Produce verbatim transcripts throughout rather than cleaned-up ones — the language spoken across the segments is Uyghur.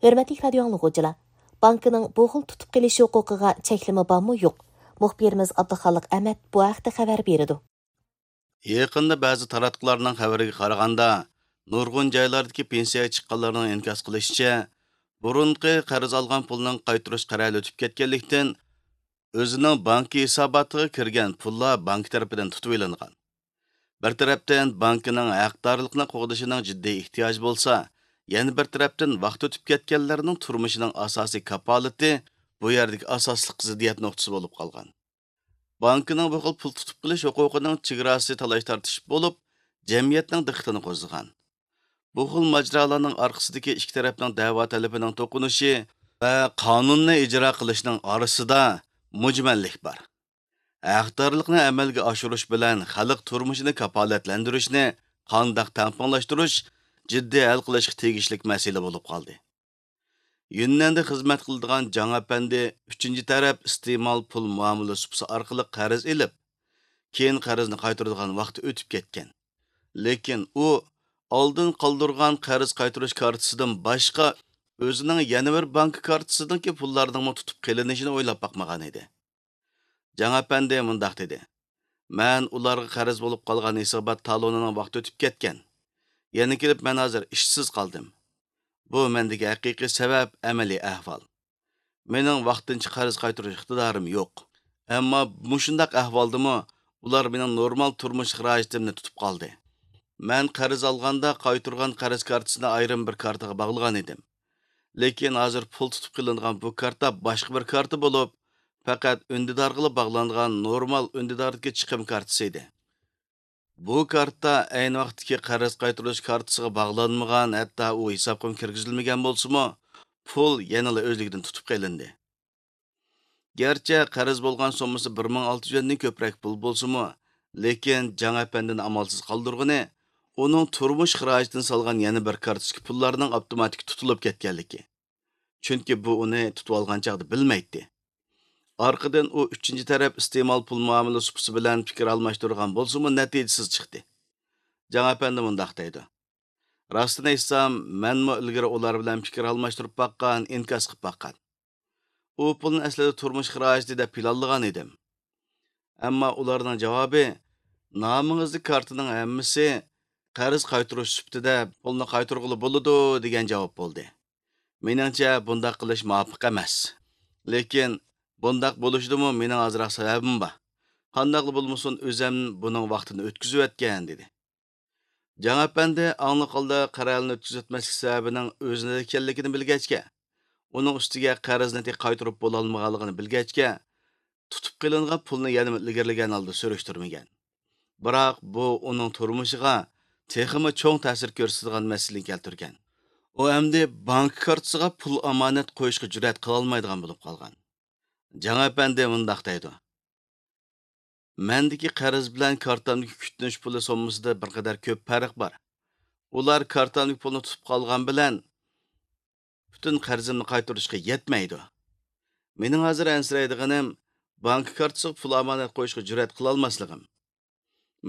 ھۆرمەتلىك رادىيو ئاڭلىغۇچىلار، بانكىنىڭ بۇ خىل تۇتۇپ قېلىش ھوقۇقىغا چەكلىمە بارمۇ يوق؟ مۇخبىرىمىز ئابدۇخالىق ئەمەت بۇ ھەقتە خەۋەر بېرىدۇ. يېقىندا بەزى تاراتقۇلارنىڭ خەۋىرىگە قارىغاندا، نۇرغۇن جايلاردىكى پېنسىيەگە چىققانلارنىڭ ئىنكاس قىلىشىچە، بۇرۇنقى قەرز ئالغان پۇلنىڭ قايتۇرۇش قەرەلى ئۆتۈپ كەتكەنلىكتىن، ئۆزىنىڭ بانكا ھېساباتىغا كىرگەن پۇللار بانكا تەرىپىدىن تۇتۇۋېلىنغان. بىر تەرەپتىن بانكىنىڭ ھەقدارلىقنى قوغدىشىنىڭ جىددىي ئېھتىياجى بولسا، يەنە بىر تەرەپتىن ۋاقىت ئۆتۈپ كەتكەنلەرنىڭ تۇرمۇشىنىڭ ئاساسىي كاپالىتى بۇ يەردىكى ئاساسلىق زىددىيەت نۇقتىسى بولۇپ قالغان. بانكىنىڭ بۇ خىل پۇل تۇتۇپ قېلىش ھوقۇقىنىڭ چېگراسى تالاش-تارتىش بولۇپ، جەمئىيەتنىڭ دىققىتىنى قوزغىغان. بۇ خىل ماجىرالارنىڭ ئارقىسىدىكى ئىككى تەرەپنىڭ دەۋا تەلىپىنىڭ توقۇنۇشى ۋە قانۇننى ئىجرا قىلىشنىڭ ئارىسىدا مۈجمەللىك بار. ھەقدارلىقنى ئەمەلگە ئاشۇرۇش بىلەن خەلق تۇرمۇشىنى كاپالەتلەندۈرۈشنى قانداق تەڭپۇڭلاشتۇرۇش جىددىي ھەل قىلىشقا تېگىشلىك مەسىلە بولۇپ قالدى. يۈننەندە خىزمەت قىلىدىغان جاڭ ئەپەندى ئۈچىنچى تەرەپ ئىستېمال پۇل مۇئامىلە سۇپىسى ئارقىلىق قەرز ئېلىپ، كېيىن قەرزنى قايتۇرىدىغان ۋاقتى ئۆتۈپ كەتكەن. لېكىن ئۇ ئالدىن قالدۇرغان قەرز قايتۇرۇش كارتىسىدىن باشقا، ئۆزىنىڭ يەنە بىر بانكا كارتىسىدىكى پۇللارنىڭمۇ تۇتۇپ قېلىنىشىنى ئويلاپ باقمىغان ئىدى. جاڭ ئەپەندى مۇنداق دېدى: «مەن ئۇلارغا قەرز بولۇپ قالغان ھېسابات تالونىنىڭ ۋاقتى ئۆتۈپ كەتكەن. يەنە كېلىپ مەن ھازىر ئىشسىز قالدىم. بۇ مەندىكى ھەقىقىي سەۋەب، ئەمەلىي ئەھۋال. مېنىڭ ۋاقتىنچە قەرز قايتۇرۇش ئىقتىدارىم يوق. ئەمما مۇشۇنداق ئەھۋالدىمۇ ئۇلار مېنىڭ نورمال تۇرمۇش خىراجىتىمنى تۇتۇپ قالدى. مەن قەرز ئالغاندا قايتۇرغان قەرز كارتىسىنى ئايرىم بىر كارتىغا باغلىغان ئىدىم. لېكىن ھازىر پۇل تۇتۇپ قېلىنغان بۇ كارتا باشقا بىر كارتا بولۇپ، پەقەت ئۈندىدارغىلا باغلانغان نورمال ئۈندىداردىكى چىقىم كارتىسى ئىدى. بۇ كارتا ئەينى ۋاقىتتىكى قەرز قايتۇرۇش كارتىسىغا باغلانمىغان، ھەتتا ئۇ ھېسابقىمۇ كىرگۈزۈلمىگەن بولسىمۇ، پۇل يەنىلا ئۆزلۈكىدىن تۇتۇپ قېلىندى.» گەرچە قەرز بولغان سوممىسى بىر مىڭ ئالتە يۈز يۈەندىن كۆپرەك پۇل بولسىمۇ، لېكىن جاڭ ئەپەندىنى ئامالسىز قالدۇرغىنى ئۇنىڭ تۇرمۇش خىراجىتىنى سالغان يەنە بىر كارتىسىدىكى پۇللارنىڭ ئاپتوماتىك تۇتۇلۇپ كەتكەنلىكى. چۈنكى بۇ ئۇنى تۇتۇۋالغان چاغدا بىلمەيتتى. ئارقىدىن ئۇ ئۈچىنچى تەرەپ ئىستېمال پۇل مۇئامىلە سۇپىسى بىلەن پىكىر ئالماشتۇرغان بولسىمۇ، نەتىجىسىز چىقتى. جاڭ ئەپەندى مۇنداق دەيدۇ: «راستىنى ئېيتسام، مەنمۇ ئىلگىرى ئۇلار بىلەن پىكىر ئالماشتۇرۇپ باققان، ئىنكاس قىلىپ باققان. ئۇ پۇلنى ئەسلىدە تۇرمۇش خىراجىتى دەپ پىلانلىغان ئىدىم. ئەمما ئۇلارنىڭ جاۋابى، نامىڭىزدىكى كارتىنىڭ ھەممىسى قەرز قايتۇرۇش سۈپىتىدە پۇلنى قايتۇرغىلى بولىدۇ، دېگەن جاۋاب بولدى. مېنىڭچە، بۇنداق قىلىش مۇۋاپىق ئەمەس. لېكىن بۇنداق بولۇشىدىمۇ مېنىڭ ئازراق سەۋەبىم بار. قانداقلا بولمىسۇن، ئۆزۈم بۇنىڭ ۋاقتىنى ئۆتكۈزۈۋەتكەن.» دېدى. جاڭ ئەپەندى ئاڭلىق ھالدا قەرەلىنى ئۆتكۈزۈۋەتمەسلىك سەۋەبىنىڭ ئۆزىدە ئىكەنلىكىنى بىلگەچكە، ئۇنىڭ ئۈستىگە قەرزنى تېخى قايتۇرۇپ بولالمىغانلىقىنى بىلگەچكە، تۇتۇپ قېلىنغان پۇلنى يەنىمۇ ئىلگىرىلىگەن ھالدا سۈرۈشتۈرمىگەن. بىراق بۇ ئۇنىڭ تۇرمۇشىغا تېخىمۇ چوڭ تەسىر كۆرسىتىدىغان مەسىلىنى كەلتۈرگەن. ئۇ ئەمدى بانكا كارتىسىغا پۇل ئامانەت قويۇشقا جۈرئەت قىلالمايدىغان بولۇپ قالغان. جاڭ ئەپەندى مۇنداق دەيدۇ: «مەندىكى قەرز بىلەن كارتامدىكى كۈتۈنۈش پۇلى سوممىسىدا بىر قەدەر كۆپ پەرق بار. ئۇلار كارتامدىكى پۇلنى تۇتۇپ قالغان بىلەن پۈتۈن قەرزىمنى قايتۇرۇشقا يەتمەيدۇ. مېنىڭ ھازىر ئەنسىرەيدىغىنىم بانكا كارتىسىغا پۇل ئامانەت قويۇشقا جۈرئەت قىلالماسلىقىم.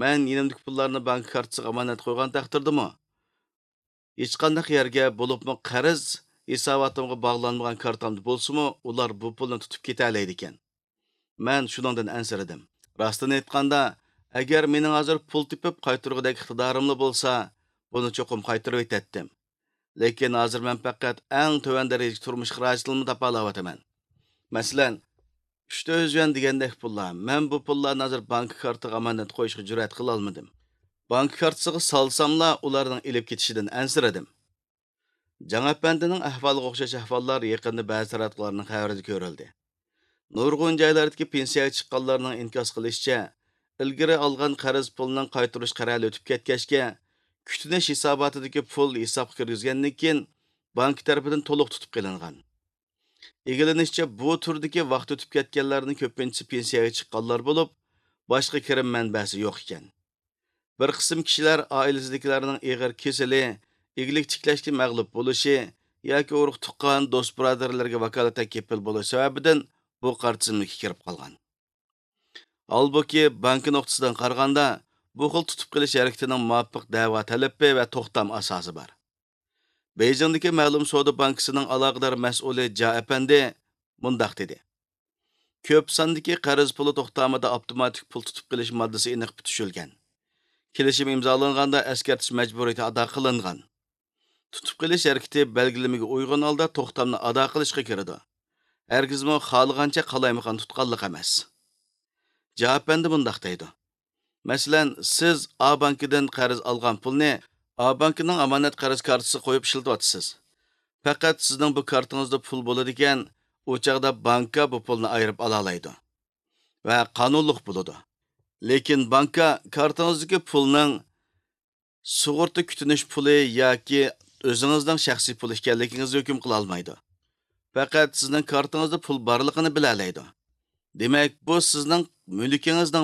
مەن يېنىمدىكى پۇللارنى بانكا كارتىسىغا ئامانەت قويغان تەقدىردىمۇ، ھېچقانداق يەرگە، بولۇپمۇ قەرز ھېساباتىمغا باغلانمىغان كارتامدا بولسىمۇ، ئۇلار بۇ پۇلنى تۇتۇپ كېتەلەيدىكەن. مەن شۇنىڭدىن ئەنسىرىدىم. راستىنى ئېيتقاندا، ئەگەر مېنىڭ ھازىر پۇل تېپىپ قايتۇرغۇدەك ئىقتىدارىملا بولسا، بۇنى چوقۇم قايتۇرۇۋېتەتتىم. لېكىن ھازىر مەن پەقەت ئەڭ تۆۋەن دەرىجىدىكى تۇرمۇش خىراجىتىنىلا تاپالاۋاتىمەن. مەسىلەن، ئۈچ تۆت يۈەن دېگەندەك پۇللار. مەن بۇ پۇللارنى ھازىر بانكا كارتىغا ئامانەت قويۇشقا جۈرئەت قىلالمىدىم. بانكا كارتىسىغا سالساملا، ئۇلارنىڭ ئېلىپ كېتىشىدىن ئەنسىرىدىم.» جاڭ ئەپەندىنىڭ ئەھۋالىغا ئوخشاش ئەھۋاللار يېقىندا بەزى تاراتقۇلارنىڭ خەۋىرىدە كۆرۈلدى. نۇرغۇن جايلاردىكى پېنسىيەگە چىققانلارنىڭ ئىنكاس قىلىشىچە، ئىلگىرى ئالغان قەرز پۇلىنىڭ قايتۇرۇش قەرەلى ئۆتۈپ كەتكەچكە، كۈتۈنۈش ھېساباتىدىكى پۇل ھېسابقا كىرگۈزگەندىن كېيىن، بانكا تەرىپىدىن تولۇق تۇتۇپ قېلىنغان. ئىگىلىنىشىچە، بۇ تۈردىكى ۋاقتى ئۆتۈپ كەتكەنلەرنىڭ كۆپىنچىسى پېنسىيەگە چىققانلار بولۇپ، باشقا كىرىم مەنبەسى يوق ئىكەن. بىر قىسىم كىشىلەر ئائىلىسىدىكىلەرنىڭ ئېغىر كېسىلى، ئىگىلىك تىكلەشكە مەغلۇپ بولۇشى ياكى ئۇرۇق-تۇغقان، دوست-بۇرادەرلەرگە ۋاكالىتەن كېپىل بولۇش سەۋەبىدىن بۇ قارا تىزىملىككە كىرىپ قالغان. ھالبۇكى، بانكا نۇقتىسىدىن قارىغاندا، بۇ خىل تۇتۇپ قېلىش ھەرىكىتىنىڭ مۇۋاپىق دەۋا تەلىپى ۋە توختام ئاساسى بار. بېيجىڭدىكى مەلۇم سودا بانكىسىنىڭ ئالاقىدار مەسئۇلى جا ئەپەندى مۇنداق دېدى: كۆپ ساندىكى قەرز پۇلى توختامىدا ئاپتوماتىك پۇل تۇتۇپ قېلىش ماددىسى ئېنىق پۈتۈشۈلگەن. كېلىشىم ئىمزالانغاندا ئەسكەرتىش مەجبۇرىيىتى ئادا قىلىنغان. تۇتۇپ قېلىش ھەرىكىتى بەلگىلىمىگە ئۇيغۇن ھالدا توختامنى ئادا قىلىشقا كىرىدۇ. ھەرگىزمۇ خالىغانچە قالايمىقان تۇتقانلىق ئەمەس. جا ئەپەندى مۇنداق دەيدۇ: مەسىلەن، سىز ئا بانكىدىن قەرز ئالغان پۇلنى ئا بانكىنىڭ ئامانەت قەرز كارتىسىغا قويۇپ ئىشلىتىۋاتىسىز. پەقەت سىزنىڭ بۇ كارتىڭىزدا پۇل بولىدىكەن، ئۇ چاغدا بانكا بۇ پۇلنى ئايرىپ ئالالايدۇ ۋە قانۇنلۇق بولىدۇ. لېكىن بانكا كارتىڭىزدىكى پۇلنىڭ سۇغۇرتا كۈتۈنۈش پۇلى ياكى ئۆزىڭىزنىڭ شەخسىي پۇلى ئىكەنلىكىڭىزنى ھۆكۈم قىلالمايدۇ. پەقەت سىزنىڭ كارتىڭىزدا پۇل بارلىقىنى بىلەلەيدۇ. دېمەك، بۇ سىزنىڭ مۈلكىڭىزنىڭ